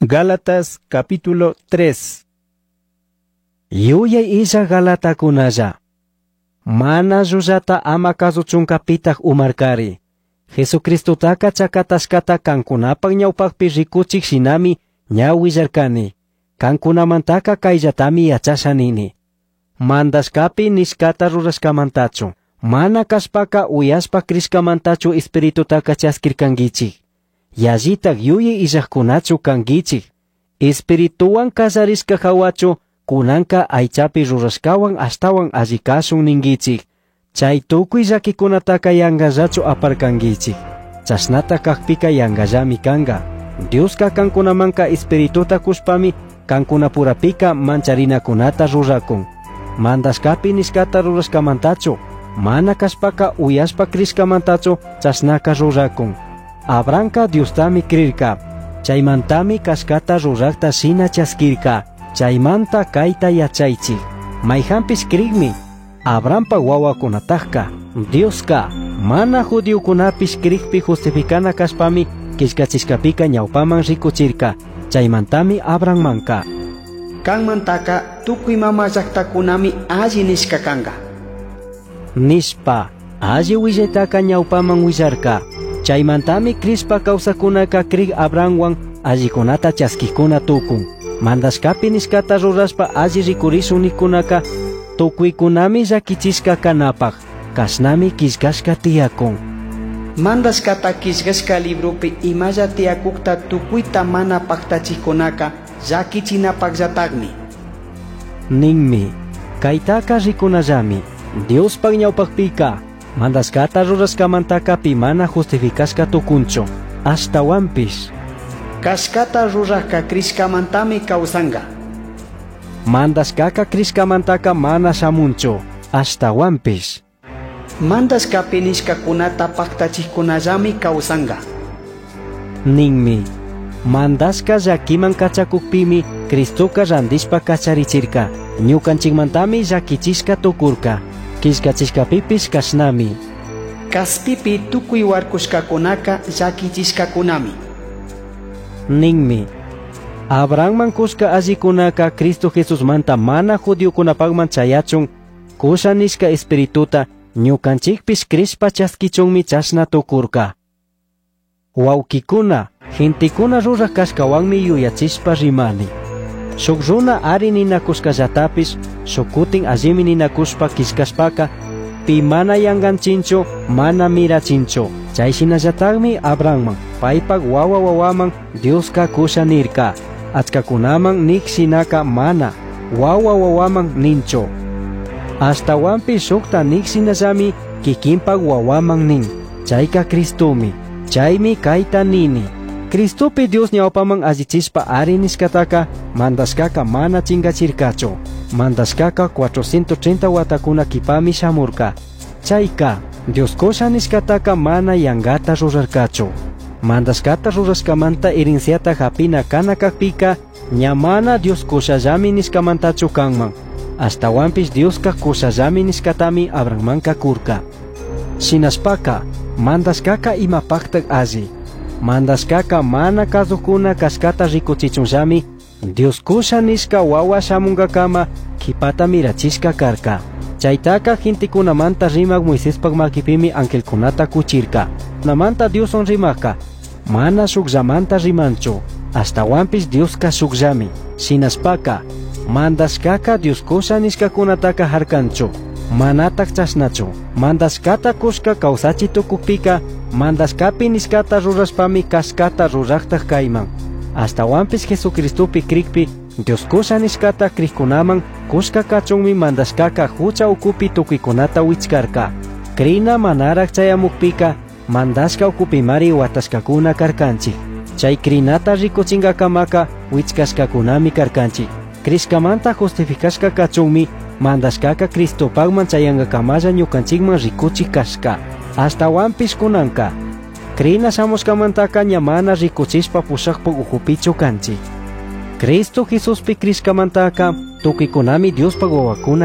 Gálatas capítulo 3. Yuyay illa Galatakunalla. Mana llullata ama kasuchunka pitaq umarkari. Jesucristotaka chakatashkata kankunapaq ñawpaqpi rikuchik shinami ña willarkani. Kankunamantaka kayllatami yachasha nini. Mandashkapi nishkata rurashkamantachu. Mana kashpaka uyashpa crishkamantachu Espiritutaka chaskirkankichik. Yallitak yuyay illajkunachu kankichik. Espirituwan kallarishka hawachu kunanka aychapi rurashkawan ashtawan alli kashun ninkichik. Chay tukuy llakikunataka yankallachu aparkankichik. Chashnata kakpika yankallami kanka. Dioska kankunamanka Espirituta kushpami kankunapurapika mancharinakunata rurakun. Mandashkapi nishkata rurashkamantachu, mana kashpaka uyashpa crishkamantachu chashnaka rurakun. Abrahamka Diostami crirka. Chaymantami kashkata rurakta shina chaskirka. Chaymanta kayta yachaychik. Mayhanpish krikmi Abrahampa wawakunatajka Dioska mana judiokunapish krikpi justificana kashpami killkachishkapika ñawpaman rikuchirka. Chaymantami Abrahammanka Kanmantaka tukuy mama llaqtakunami alli nishka kanka. Nishpa alli willaytaka ñawpaman willarka. Chaymantami crishpa kawsakkunaka krik Abrahamwan allikunata chaskikuna tukun. Mandashkapi nishkata rurashpa alli rikurishun nikunaka tukuykunami llakichishka kanapaq. Kashnami killkashka tiyakun. Mandashkata killkashka libropi imalla tiyakukta tukuyta mana paktachikkunaka llakichinapaqllataqmi. Ninmi, kaytaka rikunallami. Diospaq ñawpaqpika mandashkata rurashkamantaka pi mana justificashka tukunchu. Ashtawanpish Kashkata rurajka crishkamantami kawsanka. Mandashkaka crishkamantaka mana shamunchu. Ashtawanpish Mandashkapi nishkakunata paktachikkunallami kawsanka. Ninmi, mandashka llakiman kachakukpimi Cristoka randishpa kacharichirka. Ñukanchikmantami llakichishka tukurka. Killkachishkapipish kashnami. Kaspipi tukuy warkushkakunaka llakichishkakunami. Ninmi, Abrahamman kushka allikunaka Cristo Jesusmanta mana judiokunapaqman chayachun kusha nishka Espirituta ñukanchikpish crishpa chaskichunmi chashna tukurka. Wawkikuna, gentekuna ruraj kashkawanmi yuyachishpa rimani. Shuk runa ari ninakushkallatapish, shuk kutin allimi ninakushpa killkashpaka, pi mana yankanchinchu, mana mirachinchu. Chay shinallatakmi Abrahamman, paypak wawa wawaman Dioska kusha nirka. Achkakunaman nik shinaka mana, wawa wawaman ninchu. Ashtawanpish shukta nik shinallami kikinpak wawaman nin. Chayka Cristomi. Chaymi kayta nini. Cristopi Dios ñawpaman allichishpa ari nishkataka mandashkaka mana chinkachirkachu. Mandashkaka 430 watakuna kipami shamurka. Chayka Dios kusha nishkataka mana yankata rurarkachu. Mandashkata rurashkamanta herenciata hapina kana kakpika ña mana Dios kushallami nishkamantachu kanman. Ashtawanpish Dioska kushallami nishkatami Abrahammanka kurka. Shinashpaka mandashkaka imapaqtak alli. Mandashkaka mana kasukuna kashkata rikuchichunllami Dios kusha nishka wawa shamunkakama kipata mirachishka karka. Chaytaka gentekunamanta rimak Moisespak makipimi angelkunata kuchirka. Namanta Dioswan rimakka mana shukllamanta rimanchu. Ashtawanpish Dioska shukllami. Shinashpaka mandashkaka Dios kusha nishkakunataka harkanchu. Manatak chashnachu. Mandashkata kushka kawsachi tukukpika mandashkapi nishkata rurashpami kashkata ruraktak kayman. Ashtawanpish Jesucristopi krikpi Dios kusha nishkata krikkunaman kushka kachunmi mandashkaka hucha ukupi tukuykunata wichkarka. Krina manarak chayamukpika mandashka ukupimari watashkakuna karkanchik. Chay krinata rikuchinkakamaka wichkashkakunami karkanchik. Crishkamanta justificashka kachunmi mandashkaka Cristopaqman chayankakamalla ñukanchikman rikuchik kashka. Ashtawanpish kunanka krina shamushkamantaka ña mana rikuchishpa pushakpak ukupichu kanchik. Cristo Jesuspi crishkamantaka tukuykunami Diospaq wawakuna.